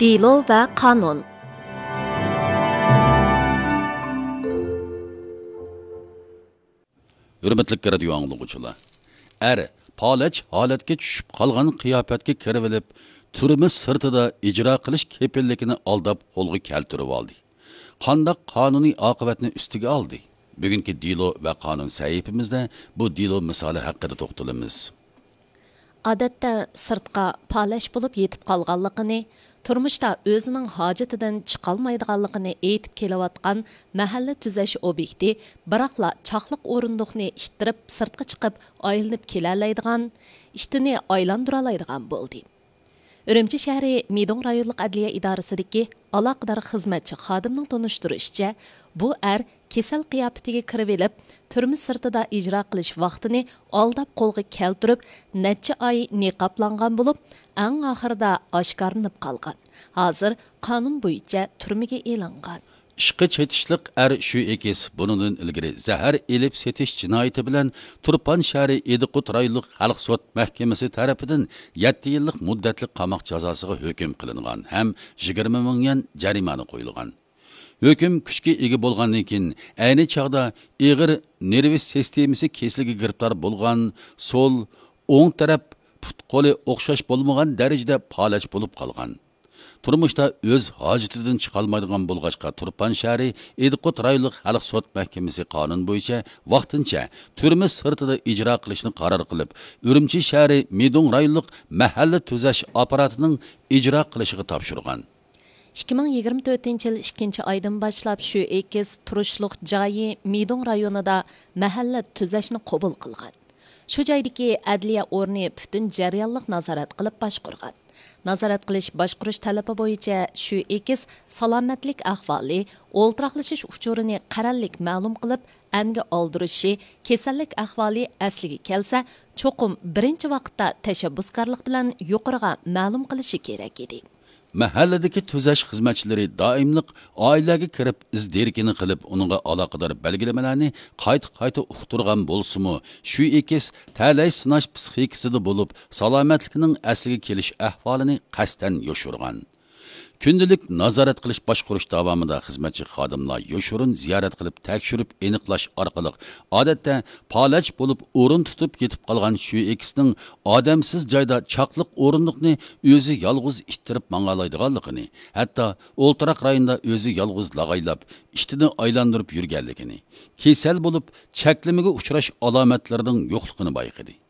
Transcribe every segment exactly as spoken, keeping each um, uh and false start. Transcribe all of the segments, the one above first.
دېلو ۋە قانۇن. ھۆرمەتلىك رادىيو ئاڭلىغۇچىلار! ئەر پالەچ ھالەتكە چۈشۈپ قالغان قىياپەتكە كىرىۋېلىپ، تۈرمە سىرتىدا ئىجرا قىلىش كېپىللىكىنى ئالداپ قولغا كەلتۈرۈۋالدى. قانداق قانۇنىي ئاقىۋەتنى ئۈستىگە ئالدى؟ بۈگۈنكى دېلو ۋە قانۇن سەھىپىمىزدە بۇ دېلو مىسالى ھەققىدە توختىلىمىز. ئادەتتە سىرتقا پالەچ بولۇپ يېتىپ قالغانلىقىنى، تۇرمۇشتا ئۆزىنىڭ ھاجىتىدىن چىقالمايدىغانلىقىنى ئېيتىپ كېلىۋاتقان مەھەللە تۈزەش ئوبيېكتى، بىراقلا چاقلىق ئورۇندۇقنى ئىتتىرىپ سىرتقا چىقىپ ئايلىنىپ كېلەلەيدىغان، ئىتىنى ئايلاندۇرالايدىغان بولدى. ئۈرۈمچى شەھىرى مىدۇڭ رايونلۇق ئەدلىيە ئىدارىسىدىكى ئالاقىدار خىزمەتچى خادىمنىڭ تونۇشتۇرۇشىچە، بۇ ئەر كېسەل قىياپىتىگە كىرىۋېلىپ، تۈرمە سىرتىدا ئىجرا قىلىش ۋاقتىنى ئالداپ قولغا كەلتۈرۈپ، نەچچە ئاي نىقابلانغان بولۇپ، ئەڭ ئاخىرىدا ئاشكارىلىنىپ قالغان. ھازىر قانۇن بويىچە تۈرمىگە ئېلىنغان. ئىشقا چېتىشلىق ئەر شۈ ئېكىس بۇنىڭدىن ئىلگىرى زەھەر ئېلىپ سېتىش جىنايىتى بىلەن تۇرپان شەھىرى ئىدىقۇت رايونلۇق خەلق سوت مەھكىمىسى تەرىپىدىن يەتتە يىللىق مۇددەتلىك قاماق جازاسىغا ھۆكۈم قىلىنغان ھەم يىگىرمە مىڭ يۈەن جەرىمانە قويۇلغان. ھۆكۈم كۈچكە ئىگە بولغاندىن كېيىن، ئەينى چاغدا ئېغىر نېرۋا سىستېمىسى كېسىلىگە گىرىپتار بولغان، سول، ئوڭ تەرەپ پۇت-قولى ئوخشاش بولمىغان دەرىجىدە پالەچ بولۇپ قالغان. تۇرمۇشتا ئۆز ھاجىتىدىن چىقالمايدىغان بولغاچقا، تۇرپان شەھىرى ئىدىقۇت رايونلۇق خەلق سوت مەھكىمىسى قانۇن بويىچە ۋاقتىنچە تۈرمە سىرتىدا ئىجرا قىلىشنى قارار قىلىپ، ئۈرۈمچى شەھىرى مىدۇڭ رايونلۇق مەھەللە تۈزەش ئاپپاراتىنىڭ ئىجرا قىلىشىغا تاپشۇرغان. ئىككى مىڭ يىگىرمە تۆتىنچى يىل ئىككىنچى ئايدىن باشلاپ شۈ ئېكىس تۇرۇشلۇق جايى مىدۇڭ رايونىدا مەھەللە تۈزەشنى قوبۇل قىلغان. شۇ جايدىكى ئەدلىيە ئورنى پۈتۈن جەريانلىق نازارەت قىلىپ باشقۇرغان. نازارەت قىلىش باشقۇرۇش تەلىپى بويىچە شۈ ئېكىس سالامەتلىك ئەھۋالى، ئولتۇراقلىشىش ئۇچۇرىنى قەرەللىك مەلۇم قىلىپ، ئەنگە ئالدۇرۇشى، كېسەللىك ئەھۋالى ئەسلىگە كەلسە، چوقۇم بىرىنچى ۋاقىتتا تەشەببۇسكارلىق بىلەن يۇقىرىغا مەلۇم قىلىشى كېرەك ئىدى. مەھەللىدىكى تۈزەش خىزمەتچىلىرى دائىملىق ئائىلىگە كىرىپ ئىز دېرىكىنى قىلىپ، ئۇنىڭغا ئالاقىدار بەلگىلىمىلەرنى قايتا-قايتا ئۇقتۇرغان بولسىمۇ، شۈ ئېكىس تەلەي سىناش پىسخىكىسىدا بولۇپ، سالامەتلىكىنىڭ ئەسلىگە كېلىش ئەھۋالىنى قەستەن يوشۇرغان. كۈندىلىك نازارەت قىلىش باشقۇرۇش داۋامىدا خىزمەتچى خادىملار يوشۇرۇن زىيارەت قىلىپ تەكشۈرۈپ ئېنىقلاش ئارقىلىق، ئادەتتە پالەچ بولۇپ ئورۇن تۇتۇپ يېتىپ قالغان شۈ ئېكىسنىڭ ئادەمسىز جايدا چاقلىق ئورۇندۇقنى ئۆزى يالغۇز ئىتتىرىپ ماڭالايدىغانلىقىنى، ھەتتا ئولتۇراق رايوندا ئۆزى يالغۇز لاغايلاپ، ئىتىنى ئايلاندۇرۇپ يۈرگەنلىكىنى، كېسەل بولۇپ چەكلىمىگە ئۇچراش ئالامەتلىرىنىڭ يوقلۇقىنى بايقىدى.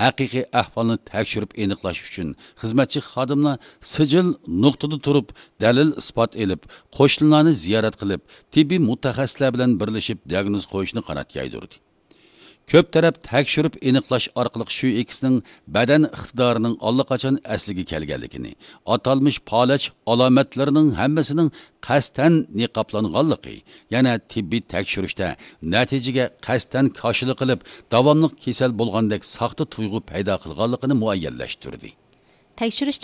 ھەقىقىي ئەھۋالنى تەكشۈرۈپ ئېنىقلاش ئۈچۈن خىزمەتچى خادىملار سىجىل نۇقتىدا تۇرۇپ، دەلىل-ئىسپات ئېلىپ، قوشنىلارنى زىيارەت قىلىپ، تېببىي مۇتەخەسسىسلەر بىلەن بىرلىشىپ دىئاگنوز قويۇشنى قانات يايدۇردى. كۆپ تەرەپ تەكشۈرۈپ ئېنىقلاش ئارقىلىق شۈ ئېكىسنىڭ بەدەن ئىقتىدارىنىڭ ئاللىقاچان ئەسلىگە كەلگەنلىكىنى، ئاتالمىش پالەچ ئالامەتلىرىنىڭ ھەممىسىنىڭ قەستەن نىقابلانغانلىقى، يەنە تېببىي تەكشۈرۈشتە نەتىجىگە قەستەن كاشىلا قىلىپ، داۋاملىق كېسەل بولغاندەك ساختا تۇيغۇ پەيدا قىلغانلىقىنى مۇئەييەنلەشتۈردى. تەكشۈرۈش